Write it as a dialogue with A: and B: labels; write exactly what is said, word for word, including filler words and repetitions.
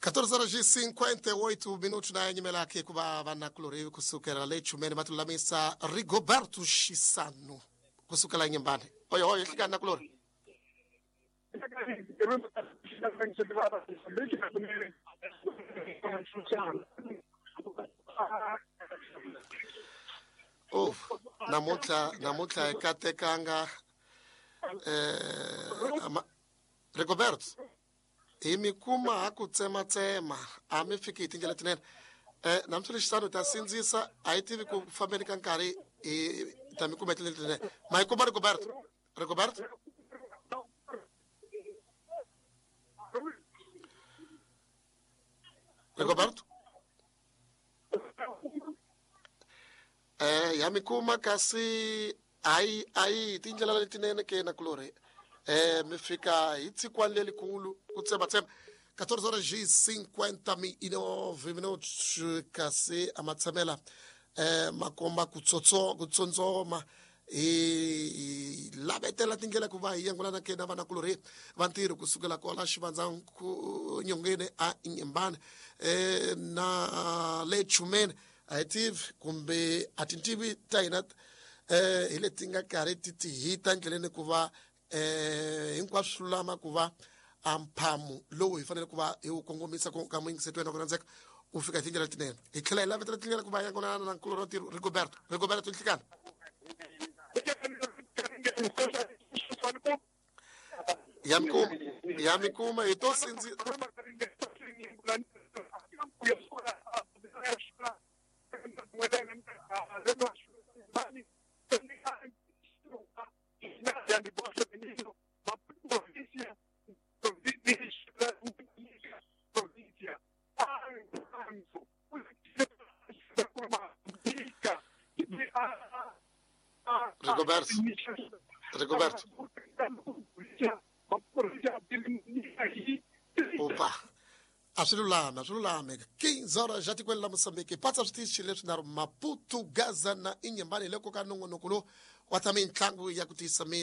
A: quatorze horas e cinquenta e oito minutos na Nhemelaki kuva vanakulori kusukela le chumeni matulamisa Rigoberto Chissano kusukela Inhambane. Oi oi hlika nakulori. Oh, namuntlha namuntlha ekatekanga eh ama, Rigoberto hi mi kuma ha ku tsematsema a mi fiki hi tindlela tinene eh namuntlha Chissano ta sindzisa a yi tivi ku fambeni ka nkarhi hi ta mi kuma hi tindlela tinene ma yi kuma Rigoberto Rigoberto Rigoberto eh ya mi kuma kasi ayi ayi tindlela letinene ke na kulori eh mi fika hi tsikwa lelikulu ku tsematsema quatorze horas e cinquenta e nove minutos kasi amatsamela eh makomba kutsotso kutsontsoma i lavetela tindlela ku va hi yangulana ke na vanakulori va ntirho kusukela kwala xivandza ku nyongeni a Inhambane eh na le chumeni a hi tivi kumbe a tintivi ta hina eh hi leti nga karhi ti ti hita ndleleni ku va eh hinkwaswo swi lulama ku va a mphamu lowu hi fanele ku va hi wu kongomisa ku ka muyingiseti wena ku rhandzeka u fika hi tindlela tinene hi tlhela hi lavetela tindlela ku va yangonana na nkulu ra ntirho Rigoberto Rigoberto nhlikana ya mi kuma ya mi kuma hi to sindzi Rigoberto Rigoberto Opa a swi lulame a swi lulame quinze horas ja tikweni la Moçambique patsa switichi leswi na Maputo Gaza na Inhambane hi loko ka nongonoko lowu wa ta mitlangu ya ku tiyisa miri.